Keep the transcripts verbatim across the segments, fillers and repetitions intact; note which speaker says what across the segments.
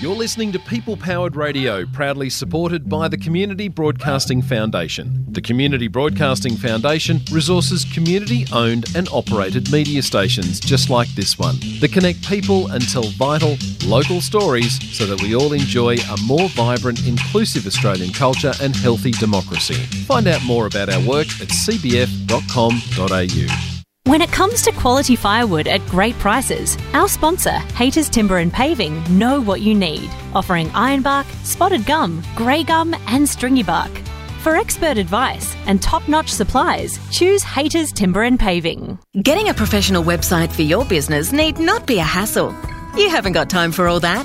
Speaker 1: You're listening to People Powered Radio, proudly supported by the Community Broadcasting Foundation. The Community Broadcasting Foundation resources community owned and operated media stations just like this one that connect people and tell vital, local stories so that we all enjoy a more vibrant, inclusive Australian culture and healthy democracy. Find out more about our work at c b f dot com dot a u.
Speaker 2: When it comes to quality firewood at great prices, our sponsor, Hayters Timber and Paving, know what you need, offering ironbark, spotted gum, grey gum and stringy bark. For expert advice and top-notch supplies, choose Hayters Timber and Paving.
Speaker 3: Getting a professional website for your business need not be a hassle. You haven't got time for all that.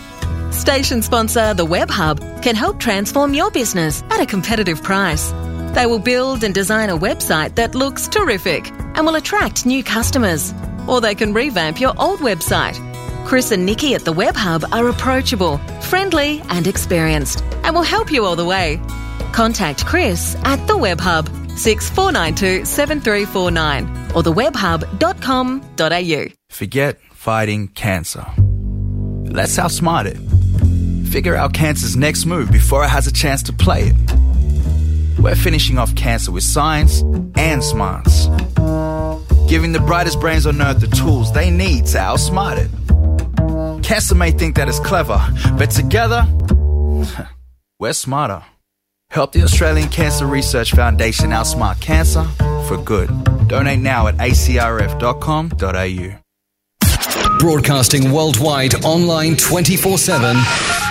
Speaker 3: Station sponsor, The Web Hub, can help transform your business at a competitive price. They will build and design a website that looks terrific and will attract new customers. Or they can revamp your old website. Chris and Nikki at The Web Hub are approachable, friendly and experienced and will help you all the way. Contact Chris at The Web Hub, six four nine two seven three four nine or the web hub dot com dot a u.
Speaker 4: Forget fighting cancer. Let's outsmart it. Figure out cancer's next move before it has a chance to play it. We're finishing off cancer with science and smarts. Giving the brightest brains on earth the tools they need to outsmart it. Cancer may think that it's clever, but together, we're smarter. Help the Australian Cancer Research Foundation outsmart cancer for good. Donate now at a c r f dot com dot a u.
Speaker 5: Broadcasting worldwide, online twenty-four seven.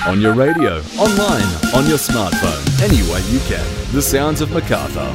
Speaker 6: On your radio, online, on your smartphone, any way you can. The sounds of Macarthur.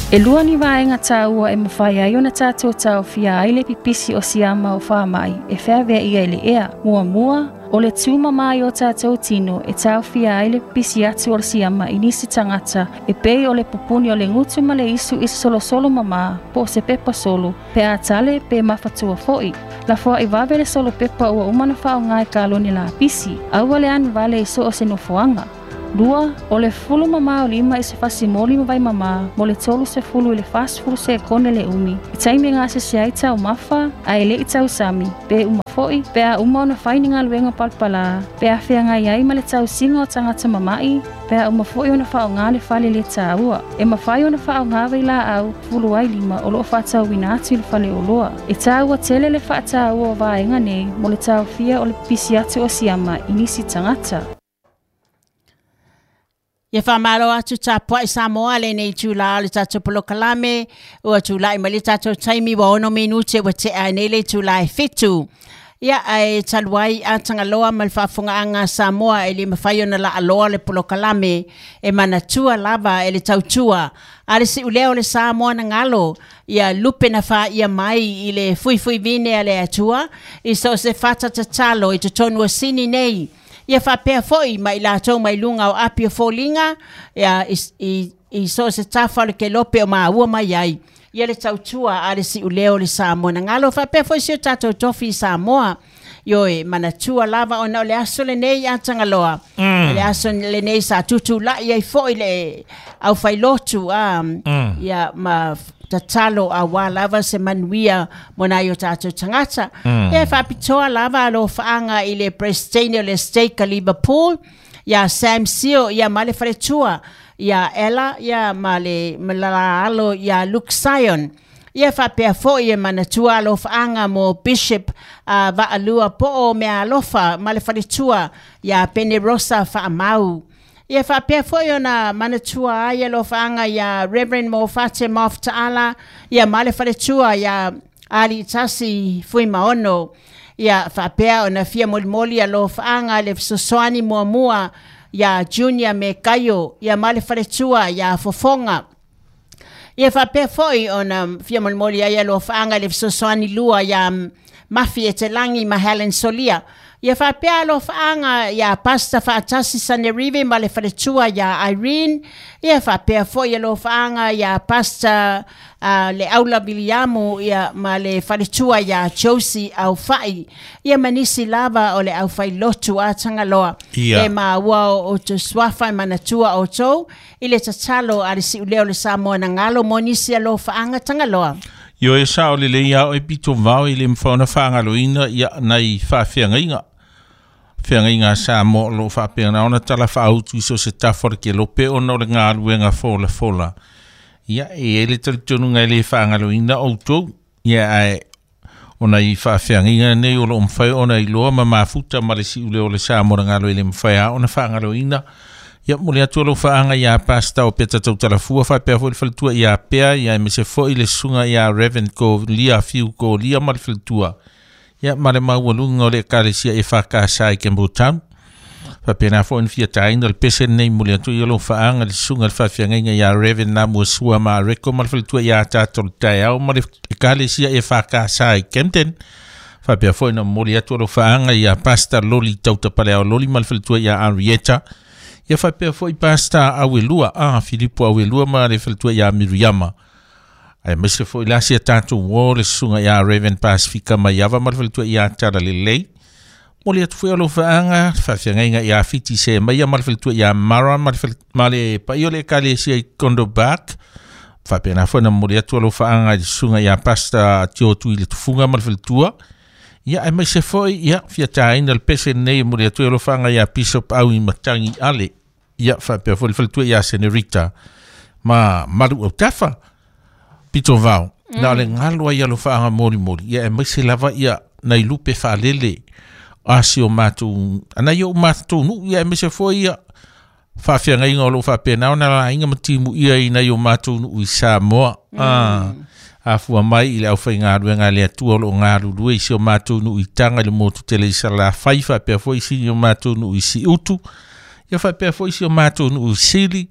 Speaker 7: E lua ni vaenga tāua e mawhai ai ona tātou tāofia ai le pipisi o siama o whaamai e wheawea ia i le ea. Mua mua, o le tūma mai o tātou tino e tāofia ai le pipisi atu o le siama i nisi tangata e pei o le pupuni o le ngutu ma le isu i solo solo mama po o se pepa solo pe a tale pe mafatua foi. La foa i wawe le solo pepa ua umana whao ngai kaloni la pisi. Aua le anu vale i so o se nofoanga. Lua, o le fulu mamā o lima i se fasi moli ma vai mamā, mo le tolu se fulu i le fasi fulu se kone le umi. I taimi ngā se se ai tau mafa, a ele i tau sami, pe uma foi, pe a uma ona whaini ngā luenga palpalā, pe a whea ngai ai ma le tau singa o tangata mamai, pe a uma foi ona whao ngā le whale le tāua. E mawhai ona whao ngā wei la au, fulu ai lima o loo whātau wina atu i le whale o loa. E tāua tele le whātāua o vaenga nei, mo le tau fia o le pisi atu o siama i nisi tangata.
Speaker 8: Ia whamaro atu tā puai Samoa le nei tūla o le tātou polokalame ua tūla i mali tātou taimi wa ono minute wa te ai nei le tūla e whitu. Ia ai taluai a tangaloa ma le faafofoga anga Samoa e le mawhai ona la aloa le polokalame e manatua lava e le tautua. A le siuleo le Samoa na ngalo ia lupe na wha ia mai i le fuifui vine a le atua i so se whatatatalo i totonu o sini nei. Ia whapea foi mai lātou mai lunga o api o fōlinga ia i, i, i so se tafa o le ke lope o maua mai ai. Ia le tautua a le siuleo le Samoa na ngalo whapea foi si o tātou tofi i Samoa. Ioe, manatua lava ona o le aso le nei a Tangaloa. Mm. Le aso le nei sa tutu la ia i foi le au whailotu a mm. ia ma tatalo a wā lava se manuia mona i o tātou tangata. Mm. E whapitoa lava alo whaanga i le Prestane o le Stake a Liverpool, ia Sam Sio, ia male wharetua, ia Ella, ia male malala alo, ia Luke Sion. Ia whapea foi e manatua alo whaanga mo Bishop uh, Vaalua po'o mea alofa male wharetua, ia Penerosa whaamau. Ia whapea foi ona manatua ai alo whaanga ia Reverend Mo Fate Mafta'ala, ia male wharetua ia Ali Tasi Fui Maono. Ia whapea ona fia molimoli alo whaanga le fesoasoani muamua ia Junior me Kaio, ia male wharetua ia Fofonga. Ia whapea foi ona fia molimoli ai alo whaanga le fesoasoani lua ia Mafi e te langi ma Helen Solia. Ia whapea alo whaanga ia Pasta Whaatasi Sanerive ma le wharetua ia Irene. Ia whapea foi alo whaanga ia Pasta uh, le Aula Viliamu ia ma le wharetua ia Josie au whai. Ia manisi lava o le au whai lotu a Tangaloa.
Speaker 9: Ia.
Speaker 8: E ma ua o te swafa manatua o tau i le tatalo a le siuleo le Samoa na ngalo mo nisi alo whaanga Tangaloa.
Speaker 9: Io e sa o le lei ao e pito vao i le mfaona whaangaloina ia nai whaawhiangaiga. Whiangaiga sa mo lo whaapea ona tala whaautu iso se tafora ke lope ona o le ngā fola fola. Ia e ele talitonu ngai le whaangaloina o tau. Ia ae ona i whaawhiangaiga nei o lo mwhai ona i loa ma mafuta ma le si ule o le sa mo ngalo i le mwhai a ona whaangaloina. Ia mo le atu lo whaanga ia pasta o peta tau talafua whaapea fo le faletua ia pea ia e mese fo i le sunga ia Reverend ko lia fiu ko lia ma le faletua. Ia ma le maualunga o le ekalesia e whakasa i Campbelltown. Whapena fo in fia taina le pese nei mo le atu ia lo whaanga le sunga le whawhiangaiga ia Reverend na mua sua ma reko ma le faletua ia tātou le taiao ma le ekalesia e whakasa i Camden. Whapea fo ina mo le atu lo whaanga ia pasta loli tautapale au loli ma le faletua ia Henrietta. Ia whapea fo i pasta awelua, ah, Filipo awelua ma le faletua ia Miriama. Ai mese fo i lasi a tātou wō le sunga ia Reverend Pasifika Maiava ma le faletua ia Tara Lelei. Mo le atu fo i alo whaanga, whawhiangaiga ia Fiti Se Maia ma le faletua ia Mara ma le, ma le paio le ekalesia i Kondo Bark. Whapea fo na mo le atu alo whaanga i le sunga ia pasta tiotu i le tufunga ma le faletua. Ia ai mese fo i, ia, fia tāina le pese nei mo le atu alo whaanga ia Bishop au i Matangi Ale. Ia whapea fo le faletua ia Senorita ma maru au tafa pito vao. Mm. Na le ngalo ai alo whaanga mori mori. Ia e maise lava ia nai lupe whalele a si o mātou. Ana ia o mātou nu ia e maise fo ia whawhiangaiga o lo whapea nao na la inga matimu ia i nai o mātou nu i Samoa. Mm. Ah. A fua mai i le au whai ngā ruenga le atua o lo ngā rurue i si o mātou nu i tanga le motu tele i sala whai whapea fo i si o mātou nu i si utu. Ia whapea fo i si o mātou nu i sili,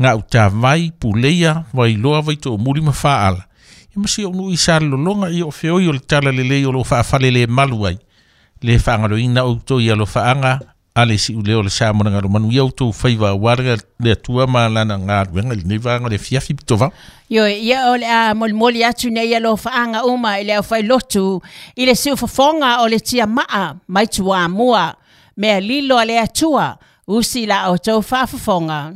Speaker 9: ngā utawai, puleia, wailoa, waito o muri ma whaala. Ia masi o nu i sa lolonga i o whioi o le tala lelei o lo whaafale le malu ai. Le whaangaloina o tō ia lo whaanga, a le si ule o le sa mona ngaro manu ia o tō whaiwa warga le atua ma lana ngā ruenga le nei le fiafi pitova.
Speaker 8: Io ia o le a molimoli atu nei ia lo whaanga uma i le au whai lotu i le siu whafonga o le tia maa mai tua mua mea lilo a le atua usi la o tau whaafafonga.